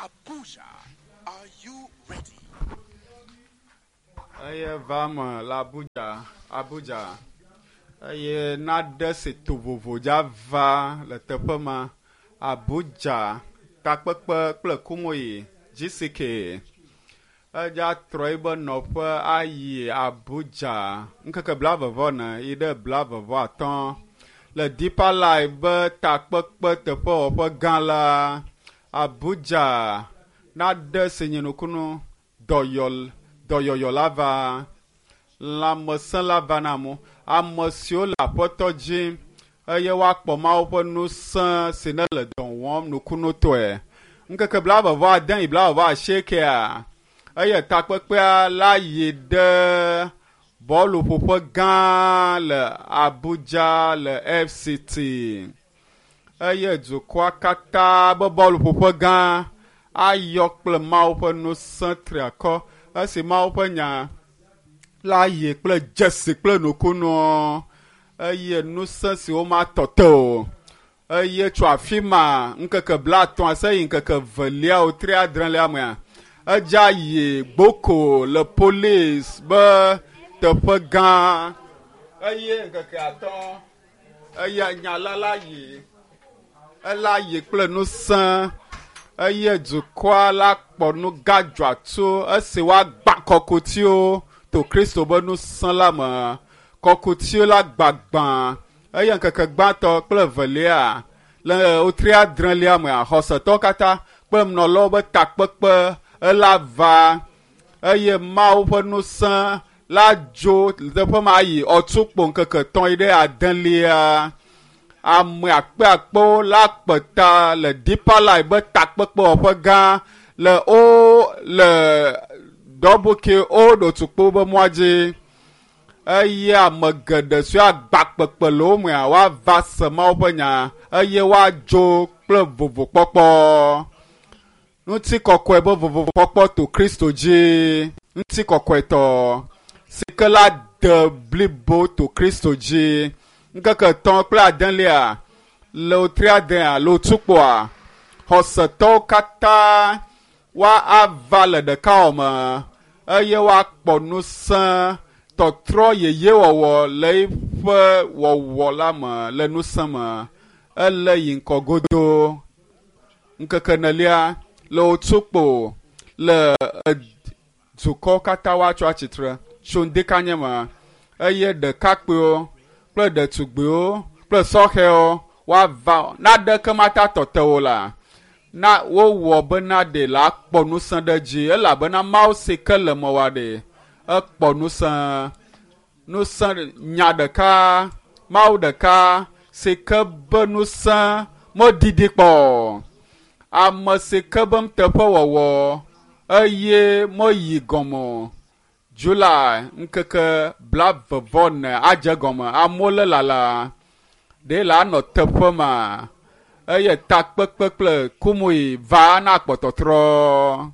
Abuja. Are you ready? Eye va me le Abuja, Abuja. Eye naɖe si to vovo dza va le teƒe ma. Abuja takpekpe kple Kumoyi GCK. Edza trɔ yibe nɔƒe ayi Abuja ŋkeke blaeve-vɔ-ene yi ɖe blaeve-vɔ-atɔ̃ le Deeper Life be takpekpe teƒewɔƒe gã la. Abuja naɖe si nye nukunu dɔyɔ dɔyɔyɔ la va lãmesẽ la va na amewo. Ame siwo le aƒetɔ dzi eye woakpɔ Mawu ƒe ŋusẽ si ne le dɔ wɔm nukunutɔe. Ŋkeke blaeve vɔ ade yi blaeve vɔ asiekea eye takpekpea la yi ɖe bɔluƒoƒe gã le Abuja le FCT eye dukɔa katã be bɔluƒoƒe gã ayɔ kple Mawu ƒe ŋusẽ triakɔ esi Mawu ƒe nya la yi kple dzesi kple nukunuwo eye ŋusẽ si womatɔ te o eye tso afi ma ŋkeke blaetɔ̃ se yi ŋkeke velia wotri adrelia mea edza yi gboko le polisi be teƒe gã eye ŋkeke atɔ̃ eye nya la la yi ela yi kple ŋusẽ eye dukɔa la kpɔ nu gã dzɔatso esi woagbã kɔkutiwo to Kristo be ŋusẽ la me. Kɔkutiwo la gbagbã eye ŋkeke gbãtɔ kple evelia le wotri adrelia mea xɔsetɔwo katã kple nunɔlawo be takpekpe ela va eye Mawu ƒe ŋusẽ la dzo le teƒe ma yi ɔtukpo ŋkeke etɔ̃ yi ɖe adelia. Ame akpeakpewo la kpe ta le Deeper Life be takpekpewɔƒe gã le wo le Dɔbuki Old Otukpo be mɔa dzi eye ame geɖe siwo agba kpekpe le wo mea woava se Mawu ƒe nya eye woadzo kple vovokpɔkpɔ. Ŋutikɔkɔe be vovokpɔkpɔ to Kristo dzi. Ŋutikɔkɔetɔ si ke la de blibo to Kristo dzi. Ŋkeke etɔ̃ kple adelia le wotri adea le otukpoa xɔsetɔwo katã woava le ɖekawɔme eye woakpɔ ŋusẽ tɔtrɔ yeyewɔwɔ le eƒe wɔwɔ la me le ŋusẽ me. Ele yi ŋkɔ godo. Ŋkeke enelia le otukpo le dukɔwo katã woatso atsitre tso ŋdekanye me eye ɖekakpuiwo kple ɖetugbiwo kple sɔhɛwo woava naɖeke mata tɔ te wo la na wowɔ bena ɖe la kpɔ ŋusẽ ɖe dzi elabena Mawu si ke le mewɔa ɖe ekpɔ ŋusẽ ŋusẽ nya ɖeka Mawu ɖeka si ke be ŋusẽ meɖiɖi kpɔ o. Ame si ke be nuteƒewɔwɔ eye meyi gɔme o. July ŋkeke blaeve-vɔ-ene adze gɔme. Amewo le lala ɖe la anɔ teƒe ma eye takpekpe kple kumui va na kpɔtɔtrɔ.